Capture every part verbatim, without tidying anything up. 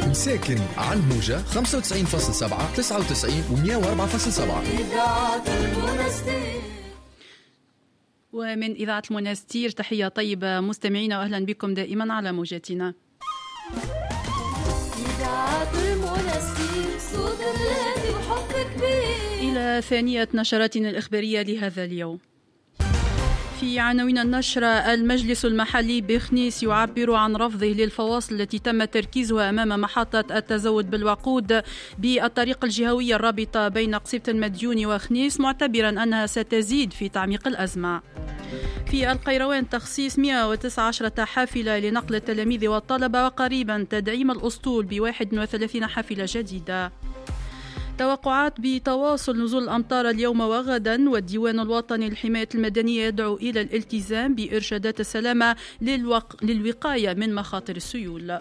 مساكن على الموجة خمسة وتسعين فاصلة سبعة تسعة وتسعين ومية وأربعة فاصلة سبعة. إذاعة المنستير. ومن إذاعة المنستير تحية طيبة مستمعينا، وأهلا بكم دائما على موجاتنا. إذاعة المنستير، صوت بلادي وحب كبير. إلى ثانية نشراتنا الإخبارية لهذا اليوم. في عناوين النشرة: المجلس المحلي بخنيس يعبر عن رفضه للفواصل التي تم تركيزها أمام محطة التزود بالوقود بالطريق الجهوية الرابطة بين قصيبة المديون وخنيس، معتبرا أنها ستزيد في تعميق الأزمة. في القيروان تخصيص مئة وتسعة عشر حافلة لنقل التلاميذ والطلبة، وقريبا تدعيم الأسطول ب واحد وثلاثين حافلة جديدة. توقعات بتواصل نزول الأمطار اليوم وغدا، والديوان الوطني للحماية المدنية يدعو إلى الالتزام بإرشادات السلامة للوق... للوقاية من مخاطر السيول.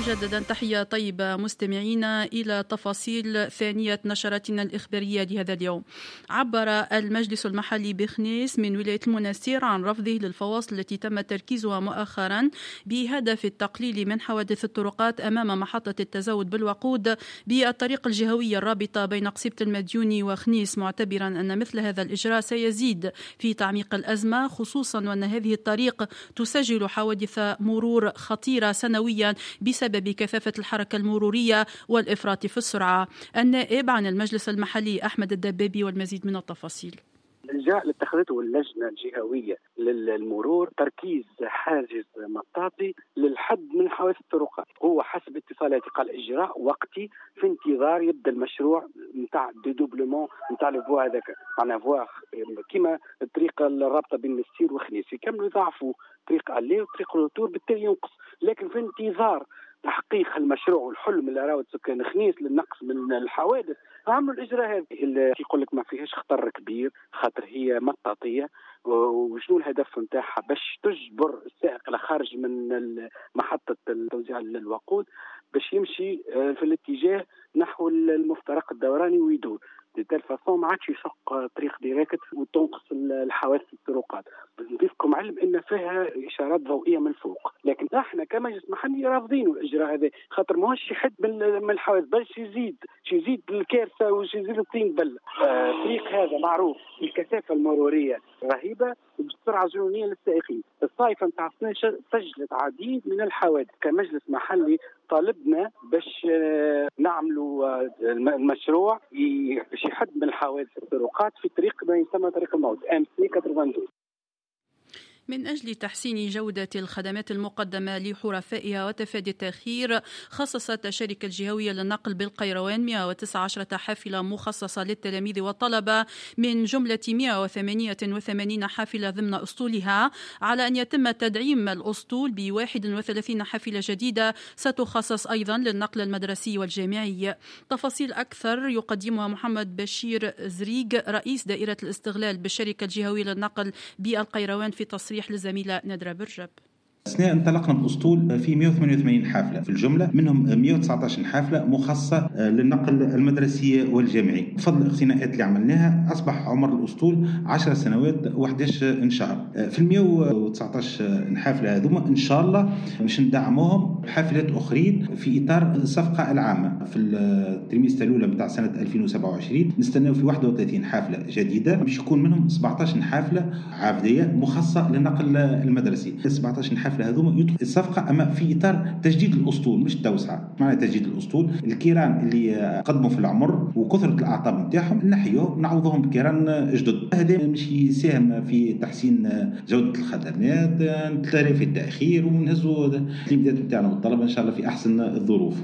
مجددا تحية طيبة مستمعينا إلى تفاصيل ثانية نشرتنا الإخبارية لهذا اليوم. عبر المجلس المحلي بخنيس من ولاية المنستير عن رفضه للفواصل التي تم تركيزها مؤخرا بهدف التقليل من حوادث الطرقات أمام محطة التزود بالوقود بالطريق الجهوية الرابطة بين قصيبة المديون وخنيس، معتبرا أن مثل هذا الإجراء سيزيد في تعميق الأزمة، خصوصا وأن هذه الطريق تسجل حوادث مرور خطيرة سنويا بسبب بكثافة الحركة المرورية والإفراط في السرعة. النائب عن المجلس المحلي أحمد الدبابي والمزيد من التفاصيل. الإجراء اللي اتخذته اللجنة الجهوية للمرور تركيز حاجز مطاطي للحد من حوادث الطرقات، هو حسب اتصالاتي قال إجراء وقتي في انتظار يبدأ المشروع نتاع dédoublement نتاع les voies هذاك، معناها voie كيما الطريق الرابطة بين المستير وخنيس يكملوا يضاعفوا طريق aller وطريق retour، بالتالي ينقص، لكن في انتظار تحقيق المشروع والحلم اللي راود سكان خنيس للنقص من الحوادث عملوا الاجراء هذا اللي يقول لك ما فيهاش خطر كبير خاطر هي مطاطيه. وشنو الهدف نتاعها؟ باش تجبر السائق اللي خارج من محطة توزيع الوقود باش يمشي في الاتجاه نحو المفترق الدوراني ويدور de telle façon ما عادش يشق طريق direct وتنقص الحوادث الطرقات. نضيفكم علم ان فيها اشارات ضوئية من فوق، لكن احنا كمجلس محلي رافضين الاجراء هذا خاطر ماهوش يحد من الحوادث، بل يزيد يزيد الكارثة ويزيد الطين بل. الطريق هذا معروف الكثافة المرورية رهيبة وبالسرعه الجنونيه للسائقين. الصيفه نتاع السنة سجلت عديد من الحوادث. كمجلس محلي طالبنا باش نعملوا المشروع باش يحد من الحوادث الطرقات في طريق ما يسمى طريق الموت MC اثنين وثمانين. من أجل تحسين جودة الخدمات المقدمة لحرفائها وتفادي التأخير، خصصت الشركة الجهوية للنقل بالقيروان مئة وتسعة عشر حافلة مخصصة للتلاميذ والطلبة من جملة مئة وثمانية وثمانين حافلة ضمن أسطولها، على أن يتم تدعيم الأسطول ب واحد وثلاثين حافلة جديدة ستخصص أيضا للنقل المدرسي والجامعي. تفاصيل أكثر يقدمها محمد بشير زريق رئيس دائرة الاستغلال بالشركة الجهوية للنقل بالقيروان في تصريح للزميلة نادرة برجب. السنة انطلقنا بأسطول في مئة وثمانية وثمانين حافلة في الجملة، منهم مئة وتسعة عشر حافلة مخصصة للنقل المدرسي والجامعي. بفضل الاقتناءات اللي عملناها أصبح عمر الأسطول عشر سنوات وحداش شهر. في مئة وتسعة عشر حافلة هذوما إن شاء الله باش ندعموهم بحافلات أخرين في إطار الصفقة العامة. في ال trimestre الأولى متاع سنة ألفين وسبعة وعشرين نستناو في واحد وثلاثين حافلة جديدة باش يكون منهم سبعة عشر حافلة عافدية مخصصة للنقل المدرسي. سبعة عشر حافلة هذوما يدخل الصفقة، أما في إطار تجديد الأسطول مش التوسعة. معنى تجديد الأسطول الكيران اللي قدموا في العمر وكثرة الأعطاب نتاعهم نحيوهم نعوضوهم بكيران جدد. هذا مش يساهم في تحسين جودة الخدمات، نتلافي التأخير ونهزوا التلميذات نتاعنا والطلبة إن شاء الله في أحسن الظروف.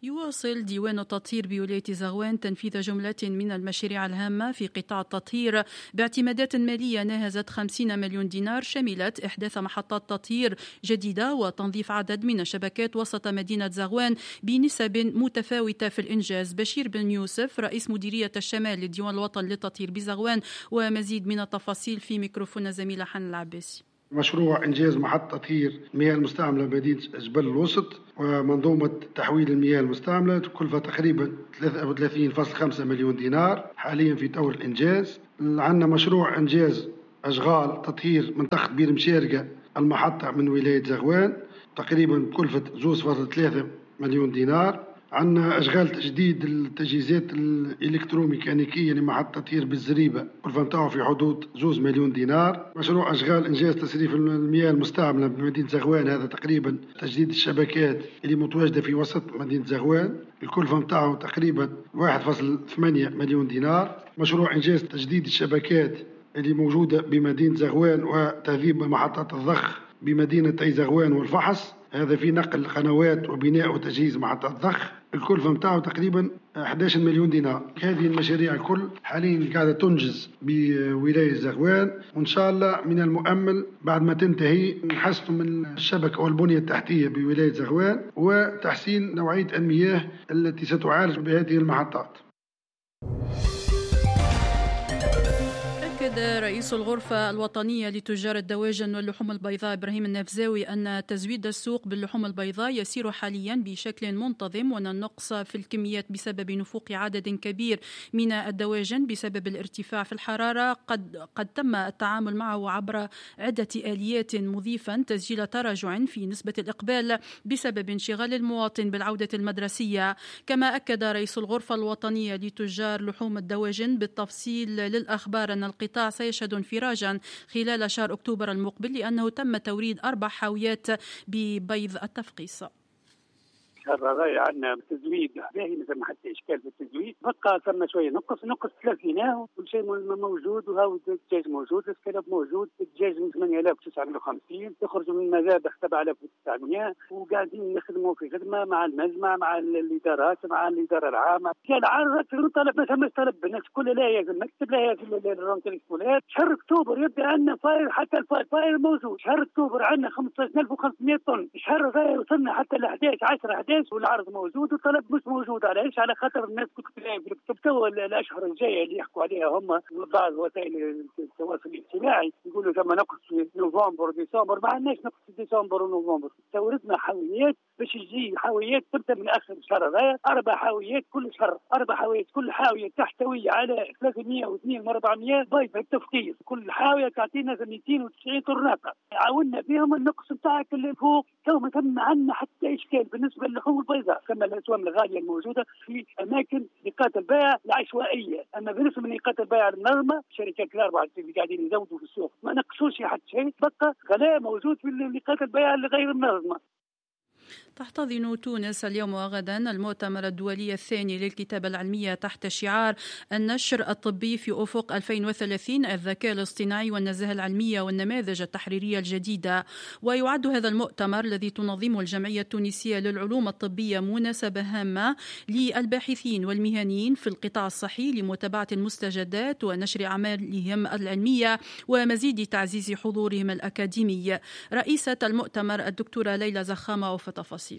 يواصل ديوان التطهير بولاية زغوان تنفيذ جملة من المشاريع الهامة في قطاع التطهير باعتمادات مالية ناهزت خمسين مليون دينار، شملت إحداث محطات تطهير جديدة وتنظيف عدد من الشبكات وسط مدينة زغوان بنسب متفاوتة في الإنجاز. بشير بن يوسف رئيس مديرية الشمال للديوان الوطني للتطهير بزغوان، ومزيد من التفاصيل في ميكروفون زميلة حن العباسي. مشروع إنجاز محطة تطهير المياه المستعملة بمدينة جبل الوسط ومنظومة تحويل المياه المستعملة تكلفة تقريبا ثلاثة وثلاثين فاصلة خمسة مليون دينار، حاليا في طور الإنجاز. عندنا مشروع إنجاز أشغال تطهير منطقة بير مشارقة المحطة من ولاية زغوان تقريبا بكلفة زوز فاصل ثلاثة مليون دينار. عندنا أشغال تجديد التجهيزات الإلكتروميكانيكية لمحطة تطهير بالزريبة، الكلفة نتاعو في حدود زوز مليون دينار. مشروع أشغال إنجاز تصريف المياه المستعملة بمدينة زغوان، هذا تقريبا تجديد الشبكات اللي متواجدة في وسط مدينة زغوان، الكلفة نتاعو تقريبا واحد فاصل ثمانية مليون دينار. مشروع إنجاز تجديد الشبكات اللي موجودة بمدينة زغوان وتهذيب محطات الضخ بمدينة زغوان والفحص، هذا في نقل قنوات وبناء وتجهيز محطات ضخ، الكلفة متاعه تقريبا أحد عشر مليون دينار. هذه المشاريع الكل حاليا قاعدة تنجز بولاية زغوان، وإن شاء الله من المؤمل بعد ما تنتهي نحسن من الشبكة والبنية التحتية بولاية زغوان وتحسين نوعية المياه التي ستعالج بهذه المحطات. أكد رئيس الغرفة الوطنية لتجار الدواجن واللحوم البيضاء إبراهيم النفزاوي أن تزويد السوق باللحوم البيضاء يسير حاليا بشكل منتظم، وأن النقص في الكميات بسبب نفوق عدد كبير من الدواجن بسبب الارتفاع في الحرارة قد قد تم التعامل معه عبر عدة آليات، مضيفا تسجيل تراجع في نسبة الإقبال بسبب انشغال المواطن بالعودة المدرسية. كما أكد رئيس الغرفة الوطنية لتجار لحوم الدواجن بالتفصيل للأخبار أن القطاع سيشهد انفراجا خلال شهر أكتوبر المقبل، لأنه تم توريد أربع حاويات ببيض التفقيس. الشهر هذا عندنا تزويد باهي، ما ثم حتى اشكال في التزويد، بقى ثم شوية نقص نقص ثلاثيناه وكل شيء موجود، وهاو الدجاج موجود، السكالوب موجود، الدجاج من ثمانية آلاف وتسعمائة وخمسين يخرج من المذابح سبعة آلاف وتسعمائة، وقاعدين نخدموا في خدمة مع المجمع مع الادارات مع الادارة العامة. العرض طلب ما ثمش طلب، الناس كلها لا هي في المكتب لا هي في ال rentrée scolaire. شهر اكتوبر يبدا عندنا فاير، حتى الفاير موجود. شهر اكتوبر عندنا خمسة عشر ألف وخمسمائة طن، شهر هذا وصلنا حتى ل أحد عشر عشرة أحد عشر والعرض موجود والطلب مش موجود. علاش؟ على خاطر الناس كنت في الكتب تو الاشهر الجاية اللي يحكوا عليها هم بعض وسائل التواصل الاجتماعي يقولوا ثم نقص في نوفمبر وديسمبر، ما عندناش نقص في ديسمبر ونوفمبر. استوردنا حاويات باش تجي حاويات تبدا من اخر الشهر هذا، اربع حاويات كل شهر، اربع حاويات كل حاوية تحتوي على ثلاثمائة واثنين وأربعمائة بيض التفقيس، كل حاوية تعطينا مئتين وتسعين طرناطه. عاونا بهم النقص نتاعك اللي فوق. تو ما ثم عندنا حتى اشكال بالنسبة للحوم البيضاء، كما الاسوام الغالية الموجودة في اماكن نقاط البيع العشوائية. اما بالنسبة لنقاط البيع المنظمة، الشركات الاربعة اللي قاعدين يزودوا في السوق ما نقصوش حتى شيء، بقى غلاء موجود في نقاط البيع الغير منظمة. تحتضن تونس اليوم وغدا المؤتمر الدولي الثاني للكتابة العلمية تحت شعار النشر الطبي في أفق ألفين وثلاثين، الذكاء الاصطناعي والنزاهة العلمية والنماذج التحريرية الجديدة. ويعد هذا المؤتمر الذي تنظمه الجمعية التونسية للعلوم الطبية مناسبة هامة للباحثين والمهنيين في القطاع الصحي لمتابعة المستجدات ونشر أعمالهم العلمية ومزيد تعزيز حضورهم الأكاديمي. رئيسة المؤتمر الدكتورة ليلى زخامة وفي تفاصيل.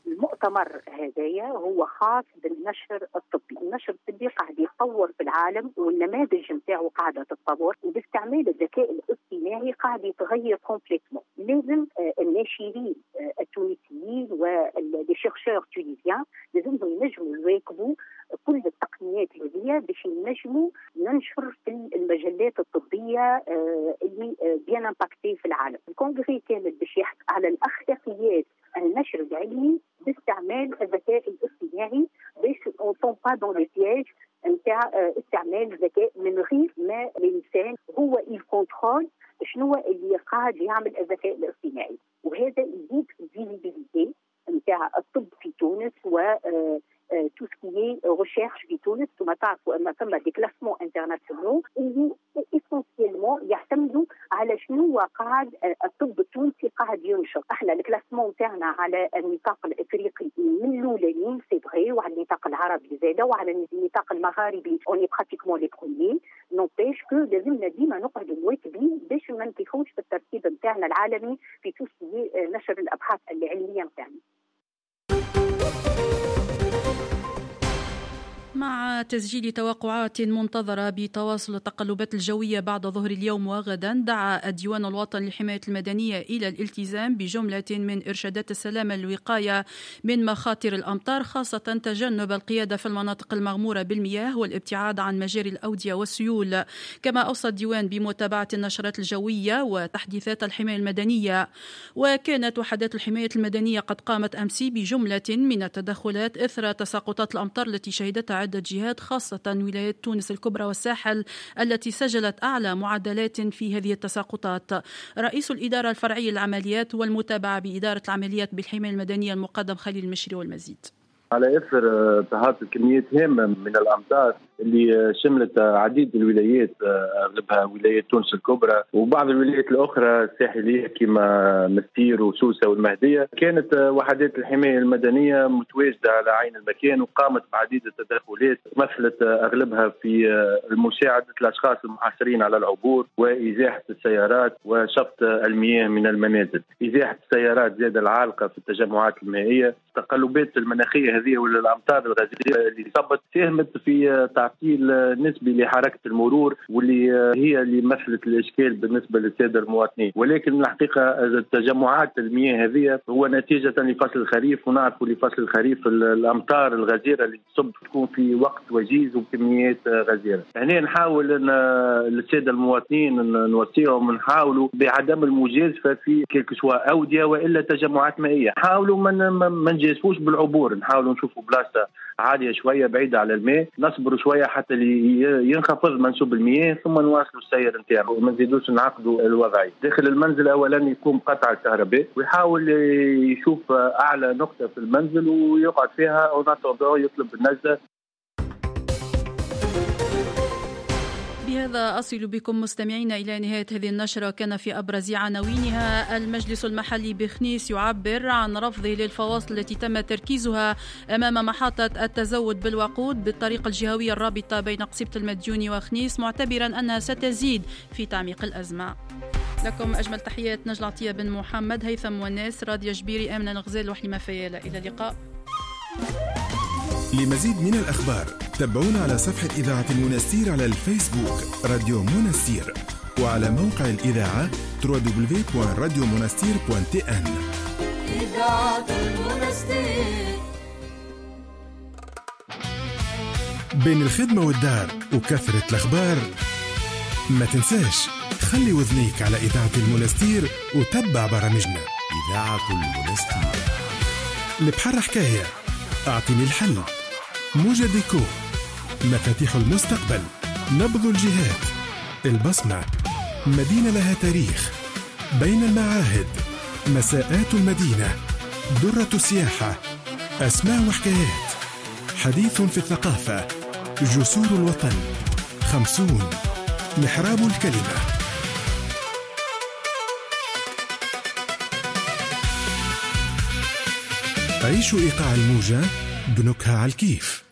المؤتمر هذايا هو خاص بالنشر الطبي، النشر الطبي قاعد يتطور في العالم والنماذج نتاعو قاعدة تتطور، وباستعمال الذكاء الاصطناعي قاعد يتغير complètement. لازم الناشرين التونسيين و les chercheurs tunisiens لازمهم ينجموا يواكبوا كل التقنيات هذه باش ينجموا ننشر في المجلات الطبية اللي bien impactées في العالم. ال congrès كامل باش يحكي على الاخلاقيات النشر العلمي باستعمال الذكاء الاصطناعي باش on tombe pas dans les pièges نتاع استعمال الذكاء من غير ما الانسان هو ي contrôle شنو اللي قاعد يعمل الذكاء الاصطناعي، وهذا يزيد visibilité نتاع الطب في تونس و tout ce qui est recherche في تونس. ثم تعرفوا ان ثم des classements internationaux اللي essentiellement يعتمدوا على شنو قاعد الطب التونسي قاعد ينشر. احنا ال classement تاعنا على النطاق الافريقي من الاولانيين c'est vrai، وعلى النطاق العربي زاده، وعلى النطاق المغاربي on est pratiquement les premiers. n'empêche que لازمنا ديما نقعدوا مواكبين باش ما نطيحوش في الترتيب نتاعنا العالمي في tout ce qui est نشر الابحاث العلمية نتاعنا. مع تسجيل توقعات منتظرة بتواصل التقلبات الجوية بعد ظهر اليوم وغدا، دعا الديوان الوطني للحماية المدنية إلى الالتزام بجملة من إرشادات السلامة للوقاية من مخاطر الأمطار، خاصة تجنب القيادة في المناطق المغمورة بالمياه والابتعاد عن مجاري الأودية والسيول. كما أوصى الديوان بمتابعة النشرات الجوية وتحديثات الحماية المدنية. وكانت وحدات الحماية المدنية قد قامت أمس بجملة من التدخلات إثر تساقطات الأمطار التي شهدتها عدة جهات، خاصة ولايات تونس الكبرى والساحل التي سجلت أعلى معدلات في هذه التساقطات. رئيس الإدارة الفرعية للعمليات والمتابعة بإدارة العمليات بالحماية المدنية المقدم خليل المشري والمزيد. على إثر تهاطل كميات هامة من الأمطار اللي شملت عديد الولايات، أغلبها ولايات تونس الكبرى وبعض الولايات الأخرى الساحلية كما مستير وسوسة والمهدية، كانت وحدات الحماية المدنية متواجدة على عين المكان وقامت بعديد التدخلات مثلت أغلبها في مساعدة الأشخاص المحاصرين على العبور وإزاحة السيارات وشفط المياه من المنازل. إزاحة السيارات زاد العالقة في التجمعات المائية. التقلبات المناخية هذه والأمطار الغزيرة اللي صبت ساهمت في تعطيل نسبي لحركة المرور واللي هي اللي مثلت الإشكال بالنسبة للسادة المواطنين. ولكن الحقيقة التجمعات المياه هذه هو نتيجة لفصل الخريف، ونعرفوا لفصل الخريف الأمطار الغزيرة اللي تصب تكون في وقت وجيز وكميات غزيرة. هنا نحاول أن السادة المواطنين نوصيهم، نحاولوا بعدم المجازفة في كل سواء أودية وإلا تجمعات مائية. حاولوا ما نجازفوش بالعبور، نحاولوا نشوفوا بلاصة عالية شوية بعيدة على الماء، نصبروا شوية حتى ينخفض منسوب المياه ثم نواصلوا السير نتاعو وما نزيدوش نعقدوا الوضعية. داخل المنزل أولا يقوم قطع الكهرباء ويحاول يشوف أعلى نقطة في المنزل ويقعد فيها أو يطلب النجدة. بهذا أصل بكم مستمعينا إلى نهاية هذه النشرة. كان في أبرز عناوينها: المجلس المحلي بخنيس يعبر عن رفضه للفواصل التي تم تركيزها أمام محطة التزود بالوقود بالطريقة الجهوية الرابطة بين قصيبة المديوني وخنيس، معتبرا أنها ستزيد في تعميق الأزمة. لكم أجمل تحيات نجل عطية بن محمد، هيثم وناس، راضية جبيري، آمنة الغزال وحليمة فيالة. إلى اللقاء. لمزيد من الأخبار تابعونا على صفحة إذاعة المنستير على الفيسبوك راديو منستير، وعلى موقع الإذاعة دبليو دبليو دبليو دوت راديو منستير دوت تي إن. إذاعة المنستير. بين الخدمة والدار وكثرة الأخبار ما تنساش خلي وذنيك على إذاعة المنستير وتبع برامجنا. إذاعة المنستير. البحر حكاية، أعطيني الحل، موجة ديكو، مفاتيح المستقبل، نبض الجهات، البصمة، مدينة لها تاريخ، بين المعاهد، مساءات المدينة، درة السياحة، أسماء وحكايات، حديث في الثقافة، جسور الوطن، خمسون، محراب الكلمة. عيشوا إيقاع الموجة بنكهة على الكيف.